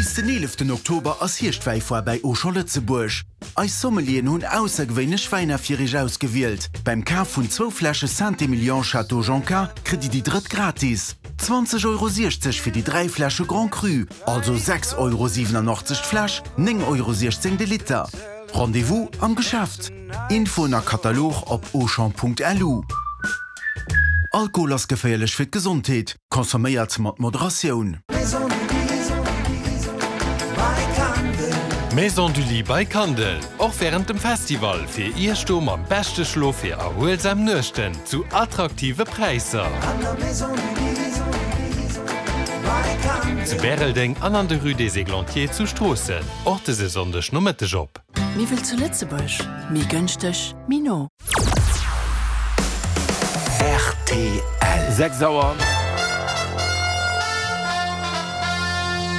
Bis den 11 Oktober ass Hierschtwäifoire bäi Auchan Lëtzebuerg. Eis Sommelieren hunn aussergewéinlech Wäiner fir iech ausgewielt. Beim Kaf vun zwou Fläsche Saint-Emilion Château Jonca kritt dir déi drëtt gratis. 20,60 Euro fir déi 3 Fläsche Grand Cru, also 6,87 Euro d'Fläsch, 9,16 Euro de Liter. Rendez-vous am Geschäft. Infoen a Katalog op auchan.lu. Alkohol ass geféierlech fir d'Gesondheet. Consomméiert mat Moderatioun. Maison du Lit by Kandel, och wärend dem Festival fir Iech do mam beschte Schlof fir erhuelsam Nuechten zu attraktive Präisser. Zu Bäreldeng an an der Rue des Églantiers zu Stroossen, och dëse Sonndeg Nomëtteg op. Miwwel zu Lëtzebuerg, méi gënschteg, méi no. Rtl. 6 Auer.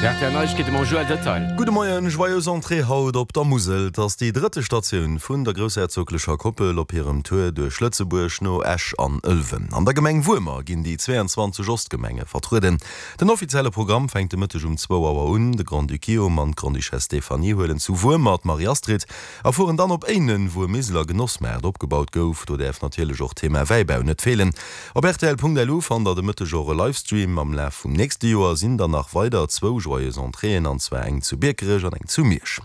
Rtl Neiegkeete mam Joël Detail. Gudde Moien, Joyeuse Entrée haut op der Musel. Et ass déi drëtte Statioun vun der groussherzoglecher Koppel op hirem Tour duerch Lëtzebuerg no Esch an Ëlwen. An der Gemeng Wuermer ginn déi 22 Ostgemenge vertrueden. Den offizielle Programm fänkt de Mëtteg um zwou Auer un. De Grand-Duc Guillaume an d'Grande-Duchesse Stéphanie huelen zu Wuermer d'Marie-Astrid a fueren dann op Éinen, wou e Miseler Genossmaart opgebaut gouf. Do däerf natierlech och d'Thema Wäibau net feelen. Op rtl.lu fannt der de Mëtteg och e Livestream. Am Laf vum nächste Joer sinn dann nach weider zwou Joyeuse Entréeën, an zwar eng zu Biekerech an eng zu Miersch.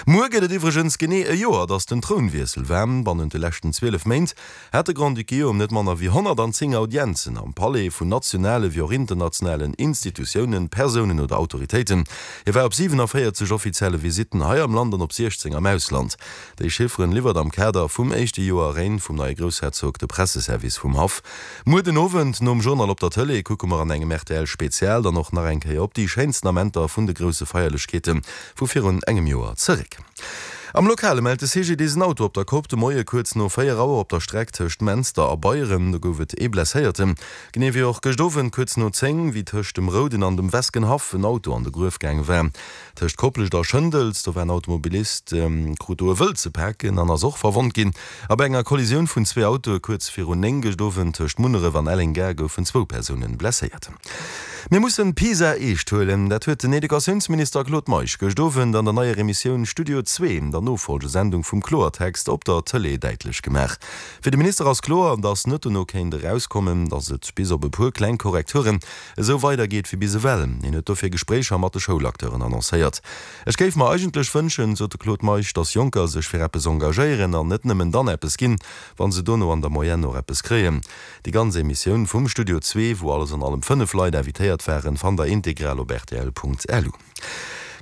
Muer gëtt et iwwregens genee e Joer, datt den Trounwiessel war. Bannent de leschten 12 Méint hat de Grand-Duc Guillaume net manner wéi 110 Audienzen am Palais vun nationale wéi och internationalen Institutiounen, Persounen oder Autoritéiten. Hie war op 47 offizielle Visitten hei am Land an op 16 am Ausland. Déi Chifferen liwwert am Kader vum éischte Joer Règne vum neie Groussherzog de Presseservice vum Haff. Muer den Owend nom Journal op der Tëlee kucke mer an engem RTL-Spezial dann och nach eng Kéier op déi schéinsten Amenter vun de grousse Feierlechkeete vu virun engem Joer zeréck. Am Lokale mellt de CGDIS en Auto op der Kopp de Moie kuerz no 4 Auer op der Streck tëscht Menster a Beieren. Do gouf et ee Blesséierten. Genee wéi och gëscht Owend kuerz no 10, wéi tëscht dem Rouden an dem Weskenhaff en Auto an de Gruef gaange war. Tëscht Koplescht a Schëndels, do war en Automobilist, krut do e Wëld ze paken an ass och verwonnt ginn. A bei enger Kollisioun vun zwee Autoe kuerz virun 9 gëscht Owend tëscht Munneref an Elleng-Gare goufen zwou Persounen blesséiert. Mir mussen PISA eescht huelen. Dat huet den Educatiounsminister Claude Meisch gëscht Owend an der neier Emissioun Studio Zwee, der Nofolgesendung vum Kloertext op der Tëlee, däitlech gemaach. Fir de Minister ass kloer, datt net dono kéint erauskommen, datt et bis op e puer kleng Korrekturen esou weidergeet wéi bis ewell. Hien huet dofir Gespréicher mat de Schoulacteuren annoncéiert. Ech géif mer eigentlech wënschen, sot de Claude Meisch, datt Jonker sech fir eppes engagéieren an net nëmmen dann eppes ginn, wa se dono an der Moyenne och eppes kréien. Déi ganz Emissioun vum Studio Zwee, wou alles an allem 5 Leit invitéiert waren, fannt der integral op rtl.lu.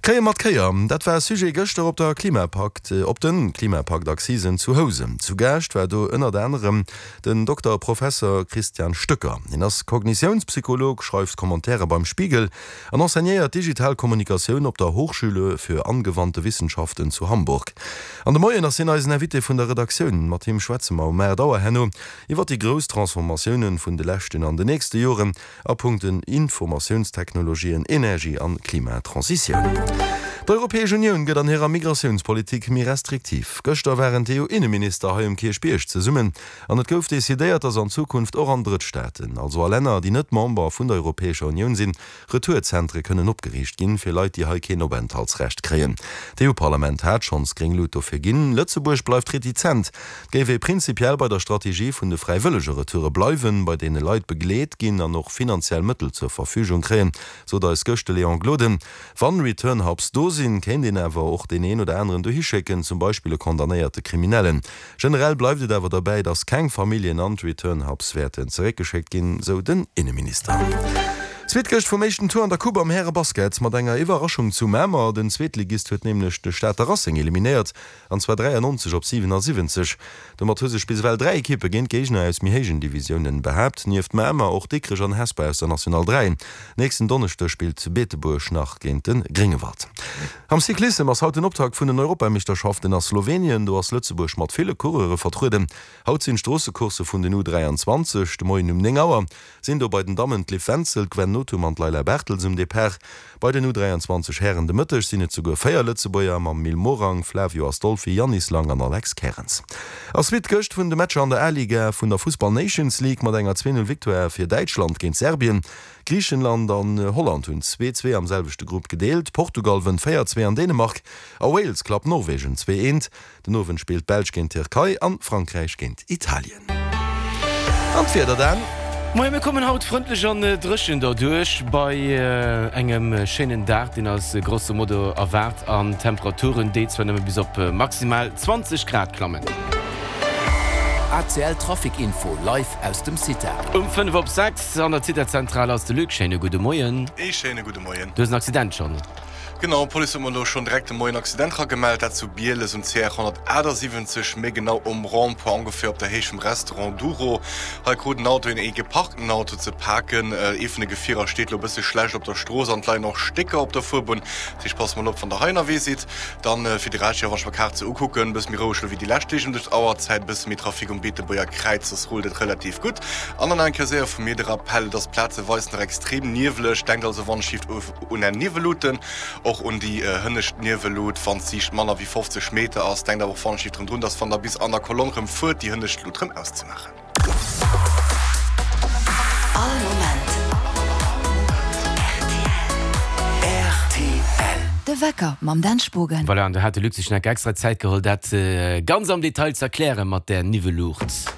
Kréie mat Kéier, dat war Sujet gëschter op der Klimapakt, op den Klimapakt-Accisen zu Housen. Zu Gaascht war do ënnert anerem den Dokter Professer Christian Stöcker. Hien ass Kognitiounspsycholog, schreift Commentaire beim Spiegel an enseignéiert digital Kommunikatioun op der Hochschule für angewandte Wissenschaften zu Hamburg. An de Moien ass hien eisen Invité vun der Redaktioun. Mat him schwätze mer um 8 Auer herno Iwwer déi grouss Transformatiounen vun de leschten an de nächste Joren a Punkten Informatiounstechnologien, Energie an Klimatransitioun. D'Europäesch Unioun gëtt an hirer Migratiounspolitik méi restriktiv. Gëschter waren d'EU-Inneminister hei um Kierchbierg zesummen an et gouf decidéiert, datt an Zukunft och an Drëttstaaten, also a Länner, déi net Member vun der Europäescher Unioun sinn, Retourzentre kënnen opgeriicht ginn, fir Leit, déi hei keen Openthaltsrecht kréien. D'EU-Parlament hat schonns gréng Lut dofir ginn. Lëtzebuerg bleift retizent. Et géif ee prinzipiell bei der Strategie vun de fräiwëllege Retoure bleiwen, bei deene Leit begleet ginn an och finanziell Mëttel zur Verfügung kréien, sot eis gëscht de Léon Gloden. Wann Return Hubs do sinn, kéint een awer och deen een oder aneren dohi schécken, zum Beispill e condamnéierte Kriminellen. Generell bleift et awer derbäi, datt keng Familljen an d'Return Hubs wäerten zeréckgeschéckt ginn, sou den Inneminister. Zweet Gëscht vum éischten Tour an der Coupe am Härebasket mat enger Iwwerraschung zu Mamer. Den Zweetligist huet nämlech de Stater Racing eliminéiert, an zwar 93 op 77. Domat hu sech bis ewell 3 Ekippe géint Géigner aus méi héijen Divisiounen behaapt, nieft Mamer och Dikrech an Hesper aus der National 3. Nächsten Donneschdeg spillt Beetebuerg nach géint de Gréngewald. Am Cyclissem ass haut den Optakt vun den Europameeschterschaften a Slowenien. Do ass Lëtzebuerg mat ville Coureure vertrueden. Haut sinn d'Stroossecoursse vun den U 23. De Moien um 9 Auer sinn do bei den Dammen d'Liv Wenzel, d'Gwen. Nothum an d'Leila Bartels um Depart. Bei den U 23 Hären de Mëtteg sinn et souguer 4 Lëtzebuerger mam Mil Morang, Flavio Astolfi, Yannis Lang an Alex Kerens. A Suite gëscht vun de Matcher an der A-Liga vun der Fussball Nations League mat enger 2, 0 Victoire fir Däitschland géint Serbien. Griichenland an Holland hunn 2, 2 am selwechte Grupp gedeelt. Portugal wënnt 4, 2 an Dänemark a Wales klappt Norwegen 2, 1. Den Owend spillt d'Belsch géint d'Tierkei an Frankräich géint Italien. An d'Wieder dann? Moien, mir kommen haut frëndlech an dréchen derduerch bei engem schéinen Dag, deen eis grosso modo erwaart, an Temperaturen, déi zwar nëmme bis op maximal 20 Grad klammen. ACL Trafic Info live aus dem CITA. Um 5 op 6 an der CITA-Zentral ass de Luc. Schéine gudde Moien. Ee schéine gudde Moien. Du hues en Accident schonn. Genau, d'Police huet mer elo schonn direkt de Moien Accident ragemellt, dat zu Bieles um CR 178, méi genau um Rond-point ongeféier op der Héicht vum Restaurant Douro. Hei krut en Auto een ee geparkten Auto ze paken. Ee vun de Gefierer steet elo e bësse schlecht op der Strooss an et leien och Stécker op der Fuerbunn. Dat heescht, passt mol op, wann der hei ënnerwee sidd. Dann fir de Rescht, jo, wann ech mer d'Kaart sou ukucken, e bësse méi roueg elo wéi déi lescht Deeg ëm dës Auerzäit, e bësse méi Trafic um Beetebuerger Kräiz, soss rullt et relativ gutt. An dann nach eng Kéier séier vu mir de Rappell, et ass plazeweis nach extrem nieweleg, denkt also wann ech Un Är Niwweluten, och un déi hënnescht Niwwellut, wann d'Siicht manner wéi 50 Meter ass. Denkt awer och wann drun, dass wann der bis an der Kolonn rëm fuert, déi hënnescht Lut rëm auszemaachen. All Moment rtl. De Wecker mam Dan Spogen. Voilà, an do hat de Luc sech nach extra Zäit geholl, dat ganz am Detail z'erklären mat där Niwwelluucht.